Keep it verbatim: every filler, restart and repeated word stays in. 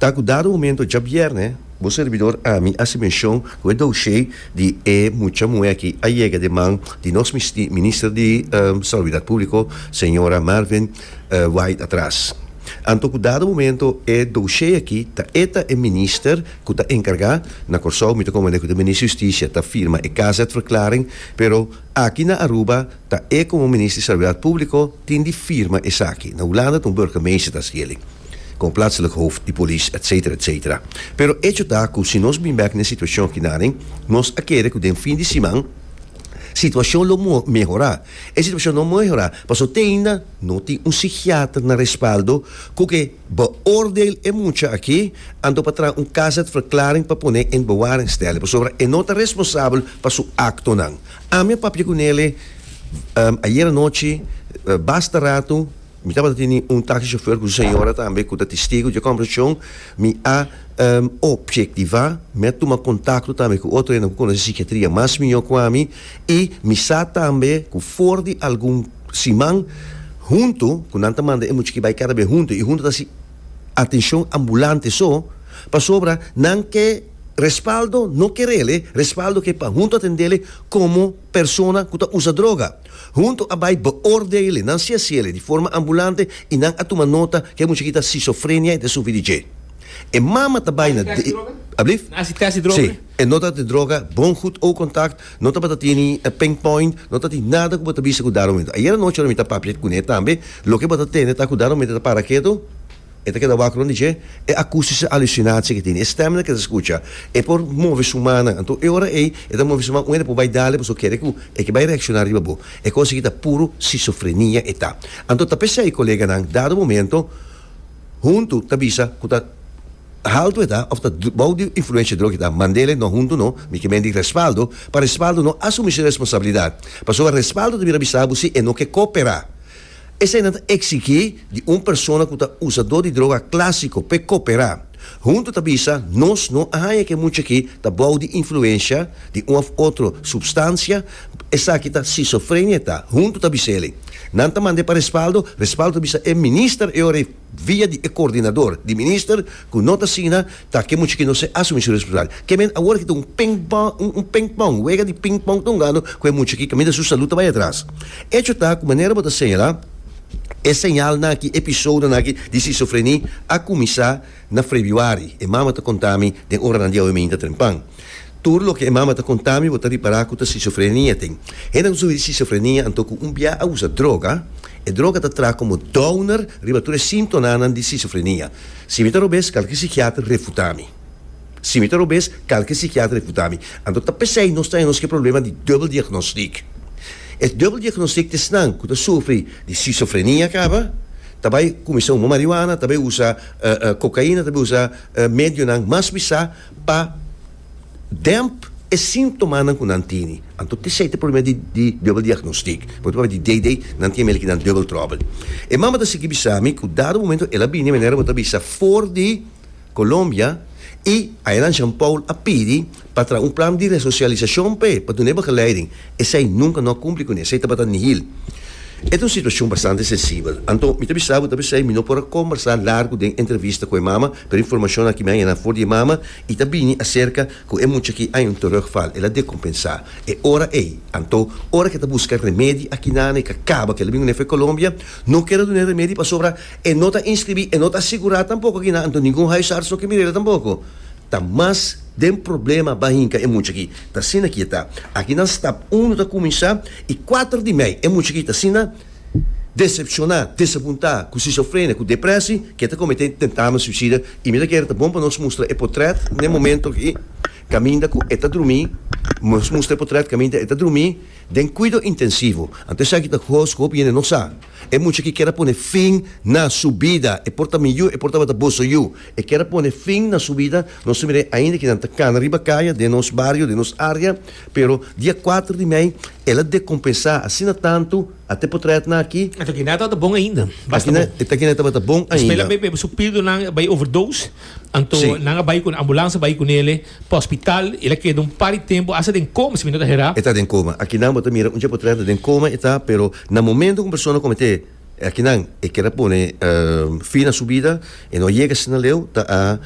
Ta ku dado momento djabièrnè, bo servidor ami a hasi menshon ku e dossier di e mucha muhé aki a yega den man di nos minister di um, Salubridat Públiko, señora Marvin uh, Wyatt-Ras. Anto ku dado momento e dossier aki ta e ta e minister ku ta enkargá na Kòrsou, mi ta komprondé ku e minister di Hustisia ta firma e K Z-verklaring, pero aki na Aruba ta e komo minister di Salubridat Públiko tin di firma esaki. Na Hulanda un burgemeester ta hasié komo plaatselijk hoofd di polis, et cetera, et cetera. Pero hecho ta ku si nos bin bèk na e situashon aki nan, nos a kere ku den fin di siman situashon lo mehorá. E situashon no a mehorá. Paso te ainda no tin un psikiater na Respaldo ku ke beoordeel e mucha aki, anto pa traha un K Z-verklaring pa pone in bewaring stellen. Pasobra e no ta responsabel pa su aktonan. Ami a papia kuné um, ayera nochi, uh, basta ratu, mi tabatin un taxi chauffeur ku señora tambe, ku ta testigu di kombersashon, mi a um, objektivá, mi a tuma kontakto tambe ku otro ku konosé psikiatria mas mihó ku ami, i mi sa tambe ku for di algun siman Hunto, ku nan ta manda e mucha aki bai kada be Hunto, i Hunto ta hasi atenshon ambulante so, pasobra nan ke Respaldo no ke, Respaldo ke pa Hunto atendé komo persona ku ta usa droga. Hunto a bai beoordelen, nan si hasié di forma ambulante i nan a tuma nota ku e mucha ta schizofrenia i ta sufri di dje. E mama ta bai na. Alsjeblieft? Test di droga? Si. E no ta di droga, bon goed oogcontact, no ta tin pinpoint, no ta tin nada ku bo ta bisa ku dado momento. Ayera nochi mi ta papia kuné tambe, loke bo ta tende ta ku dado momento ta para ketu, e ta keda wak rònt di dje, e akoestische hallucinatie ku tin, e stem ku e ta skucha, e por move su man, anto e ora ei, e ta move su man, un por bai dal e, paso kere ku e ke bai reakshoná riba bo. E kos aki ta puro schizofrenia e ta. Anto ta p'esei, koleganan, dado momento, Hunto ta bisa ku ta haltu e ta, òf ta bou di influensia droga ta, mand'é no Hunto no, mi ke men di Respaldo, pa Respaldo no asumí su responsabilidat. Pasobra Respaldo ta bira bisa si e no ke kooperá. Esei ta eksigí di un persona ku ta usadó di droga klásiko pa kooperá. Hunto ta bisa, nos no a haña ku e mucha aki ta bou di influensia di un òf otro supstansia, esaki ta schizofrenia ta. Hunto ta bis'é. Nan ta mand'é pa Respaldo, Respaldo ta bisa e minister e ora via di e koordinadó di minister ku no ta asina, ta ku e mucha aki no por asumí su responsabilidat. Ke men awor ku un ping-pong, un, un ping-pong, wega di ping-pong ta hungando ku e mucha aki kaminda su salú ta bai atras. Hecho ta ku manera bo ta señalá, e señalnan aki, episodio aki di schizofrenia a kuminsá na febrüari. E mama ta konta mi den ora di aumento trempan. Tur loke e mama ta konta mi, bo ta ripará ku ta schizofrenia tin. Hende ku sufri schizofrenia, anto ku un bia a usa droga, e droga ta traha komo downer riba tur e síntomanan di schizofrenia. Si mi ta robes, kualke psikiater refutá mi. Si mi ta robes, kualke psikiater refutá mi. Anto ta p'esei nos tin nos ku problema di dubbel diagnostiek. E dubbel diagnostiek ta esnan ku ta sufri di schizofrenia kaba, tambe kuminsá huma marihuana, tambe usa uh, uh, kokaina, tambe usa uh, medionan mas pisá pa demp e síntomanan ku nan tin. Anto esei ta e problema di, di dubbel diagnostiek. Pasobra di D D, nan tin ku nan dubbel trouble. E mama ta sigui bisa mi ku dado momento el a bini manera bo ta bisa for di Colombia i einan Jean Paul a pidi pa un plan di resosialisashon pa pa duna begeleiding. Esei nunka no a kumpli kuné, esei tabata nihil. E ta un situashon bastante sensibel. Anto, mi ta bisa, ta bisa, mi no por kombersá largu den entrevista ku e mama, pero informashon aki mi a haña for di mama i ta bini aserka ku e mucha aki a un terugval, el a dekompensá. E ora ei, anto, ora ku ta buska remedi aki na ku kaba ku el a bin for Colombia, no ke duna remedi pasobra e no ta inskribí, e no ta sigurá tampoko aki na, anto ningun huisarts no ke mir'é tampoko. Ta mas den problema b'a hinka e mucha aki. Ta asina ku ta. Aki na stap un ta kuminsá i kuater di mei e mucha aki ta asina desepshoná, desapuntá, ku schizofrenia, ku depreshon, ku ta kometé tentamen suicida i mi ke ta bon pa nos mustra e portrèt na momento ku kaminda ku e ta drumí, nos mustra e portrèt kaminda e ta drumí den kuido intensivo. Anto esaki ta kos ku no sa. E mucha ku ke pone fin na su bida. E por ta mi yu, e por ta boso yu. E ke pone fin na su bida. Nos mira ainda ku nan ta kana riba kaya, den nos bario, den nos área, pero dia kuater di mei, el a dekompensá asina tantu, ata portrèt nan aki. Anto aki nan ta bon ainda. Aki nan, aki nan tabata bon ainda. Spela bebe su pildo nan bai overdose. Anto nan bai ku ambulans bai kuné pa hospital, el a keda un par di tempu, asta den koma, si mi no ta hera. E ta den koma. Aki nan bo ta mira un portrèt den koma e ta, pero na momento ku un persona kometé aki nan e ke pone uh, fin na su bida e no yega asina leu ta a